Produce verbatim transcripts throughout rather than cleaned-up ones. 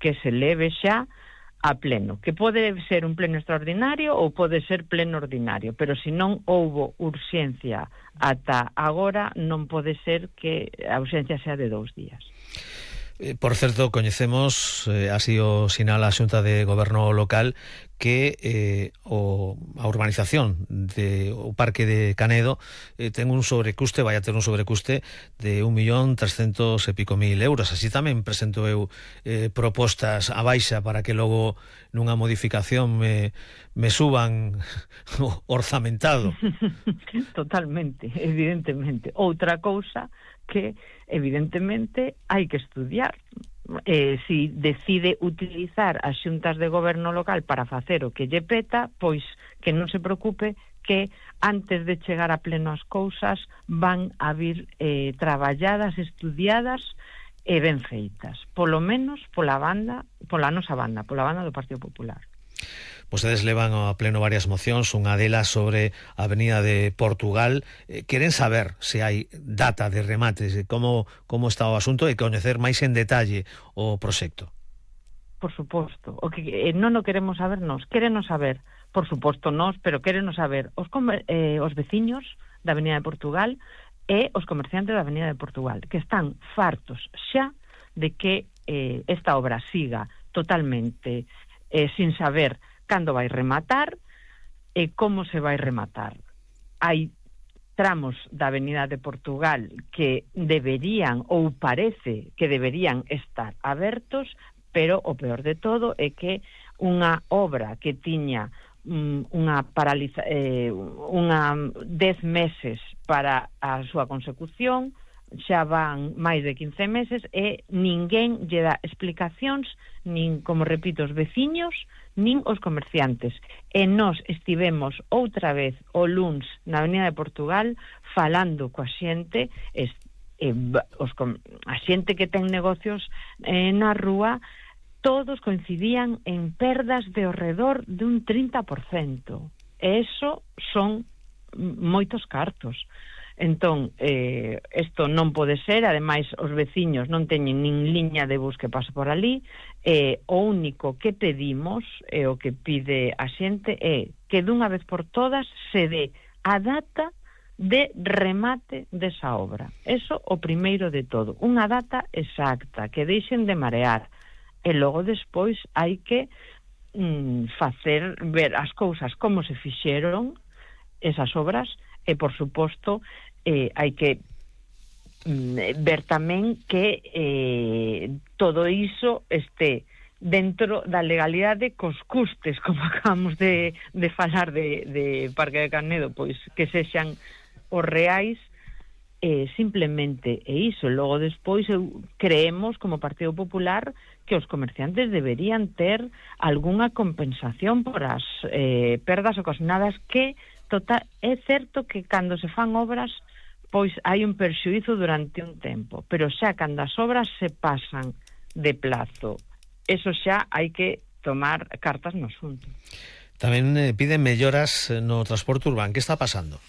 que se leve xa a pleno, que pode ser un pleno extraordinario ou pode ser pleno ordinario, pero se non houbo urxencia ata agora, non pode ser que a urxencia sea de dous días. Por certo, coñecemos, eh, así o sinala a Xunta de Goberno Local, que eh, o, a urbanización de o Parque de Canedo eh, ten un sobrecuste, vai a ter un sobrecuste de un millón trescentos e pico mil euros. Así tamén presento eu eh, propostas a baixa para que logo nunha modificación me, me suban o orzamentado. Totalmente, evidentemente. Outra cousa que evidentemente hai que estudiar. Eh, si decide utilizar as xuntas de goberno local para facer o que lle peta, pois que non se preocupe, que antes de chegar a pleno as cousas van a vir eh, traballadas, estudiadas e ben feitas, polo menos pola banda, pola nosa banda, pola banda do Partido Popular. Vostedes levan a pleno varias mocións, unha delas sobre a Avenida de Portugal. Eh, queren saber se hai data de remate, como, como está o asunto e coñecer máis en detalle o proxecto. Por suposto, o que eh, non o queremos saber nós, querenos saber, por suposto nós, pero querenos saber os, eh, os veciños da Avenida de Portugal e os comerciantes da Avenida de Portugal, que están fartos xa de que eh, esta obra siga totalmente eh, sin saber cando vai rematar e como se vai rematar. Hai tramos da Avenida de Portugal que deberían, ou parece que deberían estar abertos, pero o peor de todo é que unha obra que tiña um, unha paraliza, eh, unha dez meses para a súa consecución, xa van máis de quince meses e ninguén lle dá explicacións, nin, como repito, os veciños, nin os comerciantes. E nós estivemos outra vez o luns na Avenida de Portugal falando coa xente, es, eh, os, a xente que ten negocios eh, na rúa, todos coincidían en perdas de ao redor de un trinta por cento. E eso son moitos cartos. Entón, eh, isto non pode ser, ademais os veciños non teñen nin liña de bus que pase por ali, eh, o único que pedimos e o que pide a xente é que dunha vez por todas se dé a data de remate desa obra. Eso o primeiro de todo, unha data exacta, que deixen de marear, e logo despois hai que mm, facer ver as cousas como se fixeron esas obras. E, por suposto, eh, hai que mm, ver tamén que eh, todo iso este dentro da legalidade cos custes, como acabamos de, de falar de, de Parque de Canedo, pois que sexan os reais, eh, simplemente é iso. Logo despois eu, creemos como Partido Popular que os comerciantes deberían ter algunha compensación por as eh, perdas ocasionadas, que total, é certo que cando se fan obras pois hai un perxuízo durante un tempo, pero xa cando as obras se pasan de plazo, eso xa hai que tomar cartas no asunto. Tamén eh, piden melloras no transporte urbán. Que está pasando?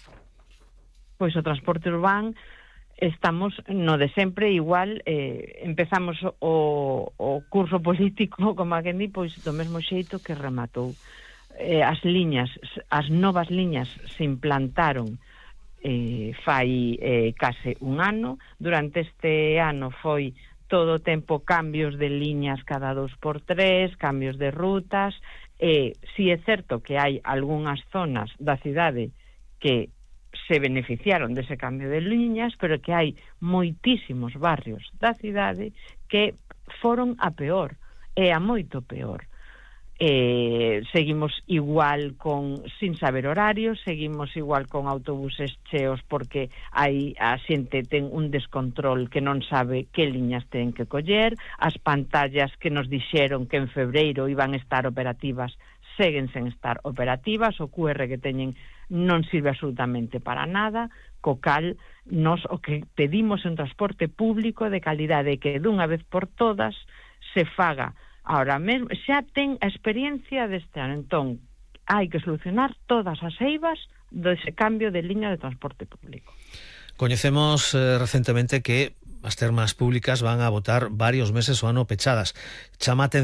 Pois o transporte urbán estamos no de sempre, igual eh, empezamos o, o curso político, como a quen di, pois do mesmo xeito que rematou. Eh, as liñas, as novas liñas se implantaron eh, fai eh, case un ano. Durante este ano foi todo o tempo cambios de liñas cada dos por tres, cambios de rutas, e si é certo que hai algunhas zonas da cidade que se beneficiaron dese cambio de liñas, pero que hai moitísimos barrios da cidade que foron a peor, e a moito peor. Eh, seguimos igual con sin saber horarios, seguimos igual con autobuses cheos porque hai a xente ten un descontrol que non sabe que liñas ten que coller, as pantallas que nos dixeron que en febreiro iban a estar operativas seguen sen estar operativas, o cu erre que teñen non sirve absolutamente para nada, co cal nos o que pedimos en transporte público de calidade que dunha vez por todas se faga. Ahora mesmo xa ten a experiencia deste ano, entón hai que solucionar todas as eivas dese cambio de liña de transporte público. Coñecemos eh, recentemente que as termas públicas van a botar varios meses o ano pechadas. Chama